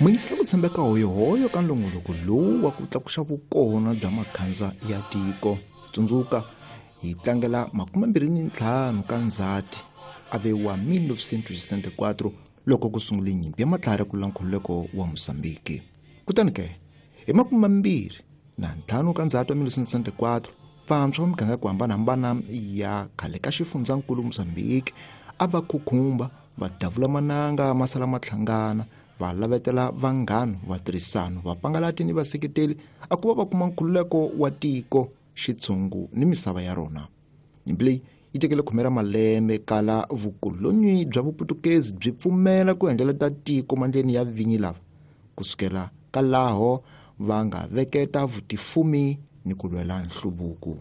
Muyingisela ku tshembeka hoyohoyo ka nongonoko lowu wa ku tlakuxa vukona bya makhandza ya tiko. Tsundzuka hi tlangela 25 ka Ndzhati a ve wa 1964 loko ku sungule nyimpi ya matlhari ku lwa nkhululeko wa Mozambique. Kutani ke hi 25 ka Ndzhati wa 1964 vantshwa va miganga ya ku hambanahambana ya khale ka xifundzankulu Mozambique a va khukhumba va davula mananga ma sala ma hlangana va lavetela vanghano vatirhisano vapangalati ni vaseketeli a ku va va kuma nkhululeko wa tiko xitshungu ni misava ya rona. Nyimpi leyi yi tekele khume ra malembe kala vukolonyi bya Vuputukezi byi pfumela ku endleleta tiko mandleni ya vinyi lava kusukela ka laho va nga veketa vutifumi ni ku lwela nhluvuko.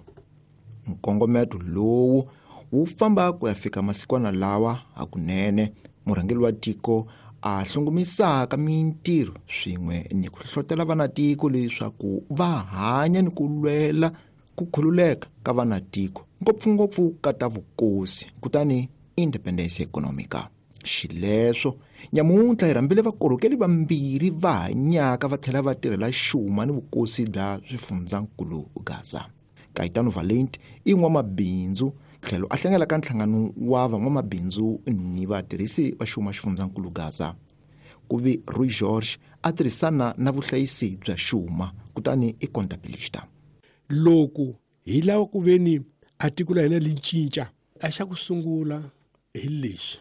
Nkongometo lowu wu famba ku ya fika masikwana lawa hakunene murhangeri wa tiko a hlongomisaka mintirho swin'we ni ku hlohlotela vanatiko leswaku va hanya ni ku lwela ku khululeka ka vanatiko ngopfungopfu ka ta vukosi kutani independence economica. Xileswo nyamuntlha hi rhambile vakorhokeli vambirhi va hanyaka va tlhela va tirhela xuma ni vukosi bya swifundzankulu Gaza. Caetano Valente i n'wamabindzu tlhelo a hlangela ka nhlangano wa van'wamabindzu ni vatirhisi va xuma xifundzankulu Gaza. Ku vi Rui George a tirhisana na vuhlayisi bya xuma kutani i contabilista. Loko hi lava ku veni a tiko la hina li cinca, a xa ku sungula hi lexi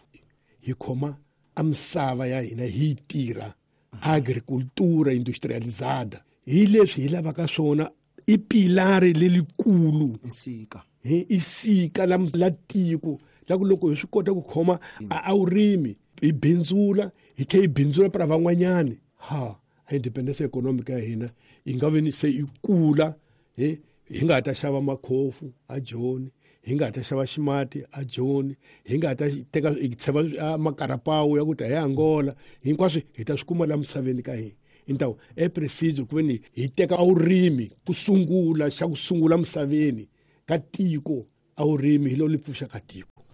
hi khoma a misava ya hina hi yi tirha agricultura industrializada hi leswi hi lavaka swona i pilari lelikulu Nsika. I sika la tiko la ku loko hi swi kota ku khoma a vurimi hi bindzula hi tlhela hi bindzula para van'wanyani ha a independence economic ya hina yi nga ve ni se yi kula hi nga ha ta xava makhofu a Joni, hi nga ha ta xava ximati a Joni, hi nga ha ta teka hi tsheva makarapawu ya ku ta hi Angola, hinkwaswo hi ta swi kuma la misaveni ka hina. Então é preciso ku veni hi teka a vurimi ku sungula xa ku sungula misaveni ka tiko a vurimi hi lo li pfuxaka tiko.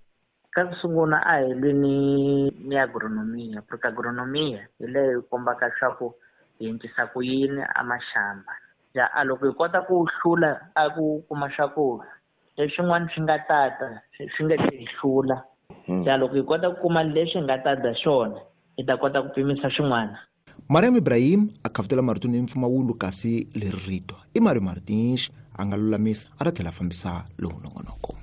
Ka ku sungula a hi lwi ni agronomia, porque agronomia hi leyi kombaka leswaku hi endlisa ku yini a maxamba. Ya a loko hi kota ku hlula a ku kuma swakudya leswin'wana swi nga tata swi nga hi hlula. Ya loko hi kota ku kuma leswi hi nga ta dya swona hi ta kota ku pimisa swin'wana. Mariam Ibrahim a khavutela marito ni mpfumawulo kasi leri rito i Mario Martins a nga lulamisa a ta tlhela a fambisa lowu nongonoko.